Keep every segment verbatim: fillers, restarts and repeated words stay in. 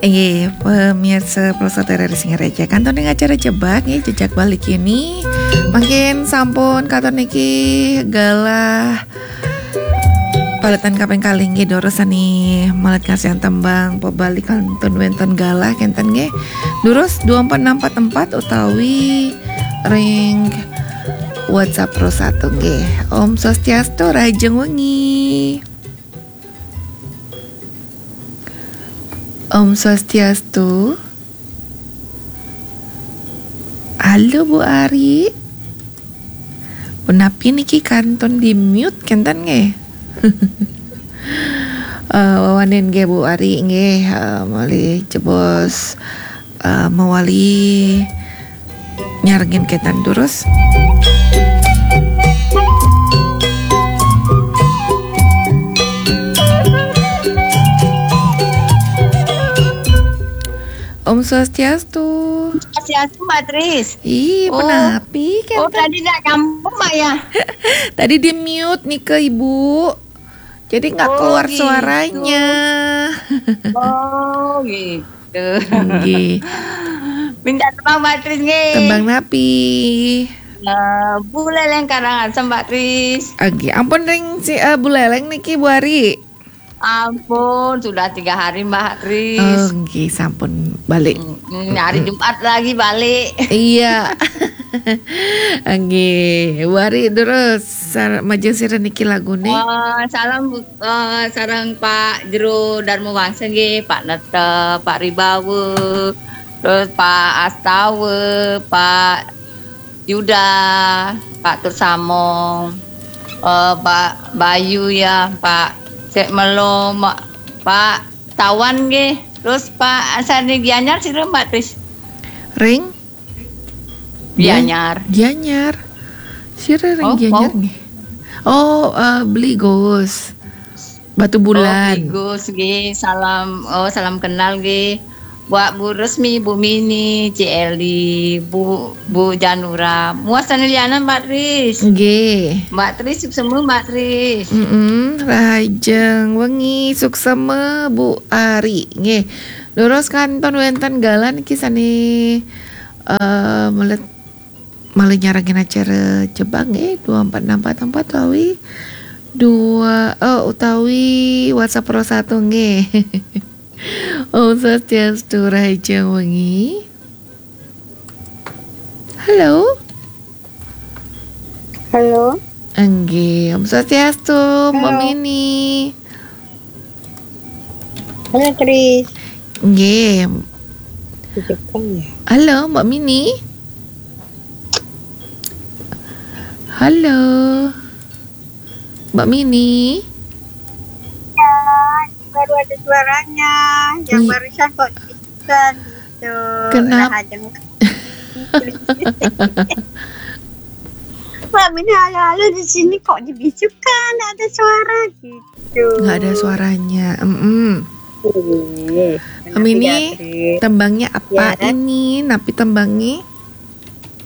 Nggih, pemirsa Polsat R R I Singaraja, kantun ring acara Jebak nggih, Jejak Bali kini. Mangkin sampun katon niki galah paletan kaping kalih nggih, durus sane malet ngarsiang tembang pabali kantun wenten galah kenten nggih. Durus dua empat enam empat empat utawi ring WhatsApp Pro satu nggih. Om Swastiastu, rahajeng wengi. Om Swastiastu. Halo, Bu Ari. Punapi niki kantun di mute kenten nggih? Eh, wawanin nggih, Bu Ari nggih, eh, malih jebos, eh, mawali nyarengin kenten durus. Om Swastiastu. Swastiastu, Mbak Tris. Ih, oh, punapi, oh, kenten? Tadi nggak nyambung, Mbak, ya? Tadi di mute nih ke Ibu. Jadi nggak, oh, keluar gitu, suaranya. Oh, gitu. Nggih. Minta tembang, Mbak Tris, nggih. Tembang napi? Eh, Bu Leleng Karangasem, Mbak Tris. Nggih, ampun ring si, eh, Bu Leleng niki, Bu Ari. Ampun, sudah tiga hari, Mbak Tris. Oh, nggih, sampun balik. Mm, mm, hari Jumat lagi balik. Iya. Nggih, Bu Ari terus sar-, majeng sira niki lagune. Eh, salam, eh, sareng Pak Jero Darma Wangsa nggih, Pak Nete, Pak Ribawa, terus Pak Astawa, Pak Yuda, Pak Tursamong, eh, Pak Bayu ya, Pak Sek Melo, Ma-, Pak Tawan nggih. Terus Pak Sandi Gianyar sira, Mbak Tris? Ring? Gianyar. Gianyar. Sira ring, oh, Gianyar mau? Nggih. Oh, eh, Beli Gus. Batu Bulan. Oh, Beli Gus nggih, salam, oh, salam kenal nggih. Buat Bu Resmi, Bu Mini, Cik Eli, Bu, Bu Janura. Muas sane lianan, Mbak Tris. Nggih. Mbak Tris, suksema, Mbak Tris. Mm-mm, rahajeng wengi, suksema, Bu Ari. Nggih. Durus kantun wenten galah niki sane, eh, melet malih nyarengin acara Jebak nggih, dua empat enam empat empat utawi dua, eh, utawi WhatsApp Pro satu nggih. Om Swastiastu, rahajeng wengi. Halo? Halo? Nggih, Om Swastiastu, Mbak, halo. Mini. Halo, Tris. Nggih. Jepang ya? Halo, Mbak Mini. Halo. Mbak Mini. Ya, ini baru ada suaranya. Yang, iya, barusan kok dibisukan gitu. Kenapa? Rahajeng. Mbak Mini, halo-halo, di sini kok dibisukan, nggak ada suara gitu. Nggak ada suaranya. Mm-mm. Iya. Mbak Mini, tembangnya apa ini? Napi tembangnya?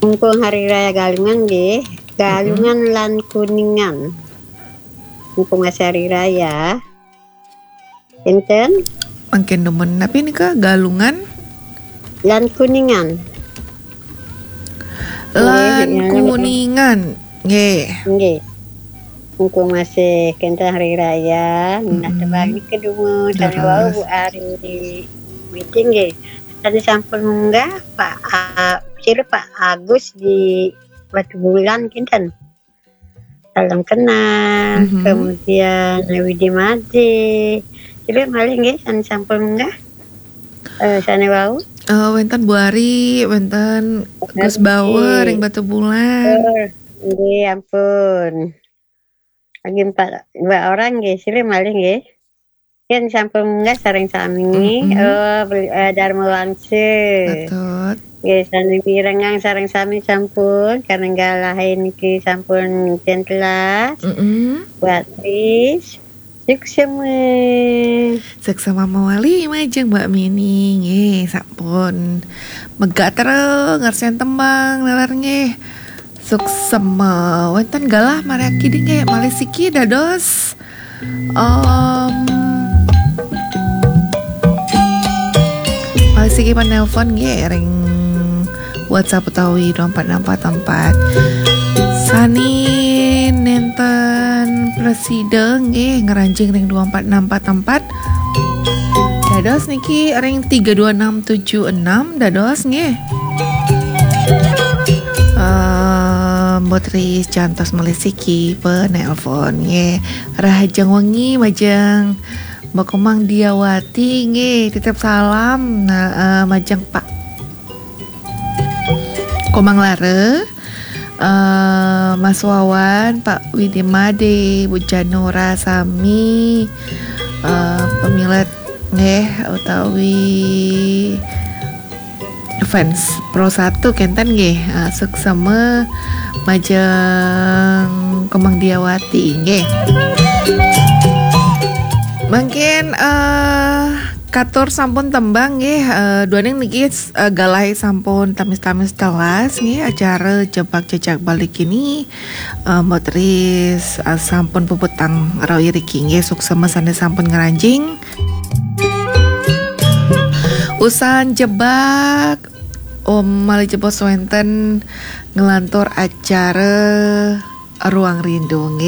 Mumpung Hari Raya Galungan nggih. Galungan, mm-mm, lan Kuningan. Mumpung masih hari raya. Enten? Mangkin demen. Napi nika? Galungan? Lan Kuningan. Lan, nggih, Kuningan. Nggih. Nggih. Mumpung masih kenten hari raya, minah, mm-mm, tebagi kedua, sane wau, leres, Bu Ari. Meeting nggih. Tadi sampun munggah Pak A-, sira Pak Agus di Batu Bulan kinten. Salam kenal, mm-hmm, kemudian Widi Made. Coba malih nggih, sane sampun munggah. Eh, sane wau. Eh, wenten Bu Ari, wenten Gus Bawa, nggih, ring Batu Bulan. Oh, nggih, ampun. Lagi empat, dua orang nggih, sira malih nggih. Yen sampun munggah sareng sami, mm-mm, eh, beli, eh, Dharma Wangsa. Betul. Nggih, sami mirengang sareng sami sampun, karena galahe niki sampun jen telas. Mm-mm. Buat Tris, suksema. Suksema mawali majeng Mbak Mini, nggih, sampun. Megatera ngarsen tembang, leler nggih. Suksema. Wenten galah margi kiding nggih, malih siki dados, em, Siki panelpon nggih ring WhatsApp utawi dua empat enam empat empat. Sani nenten presida nggih ngranjing ring dua empat enam empat empat. Dados niki ring tiga dua enam tujuh enam dados nggih. Eh, Mbok Tris cantos malih siki penelpon nggih. Rahajeng wengi majeng Mbok Komang Diawati nggih, titip salam nah, eh, majeng Pak Komang Lara, eh, Mas Wawan, Pak Widi Made, Bu Janora sami, eh, pamilet nggih utawi fans Pro satu kenten nggih, eh, suksema majeng Komang Diawati nggih. Mungkin eh katur sampun tembang nggih, eh, duaning niki eh, galai sampun tamis-tamis telas nggih acara Jebak Jejak Bali kini, eh, Mbok Tris eh, sampun puputang rau iriki nggih suksema sane sampun ngranjing. Usan jebak Om malih jebos wenten nglantur acara Ruang Rindu nggih.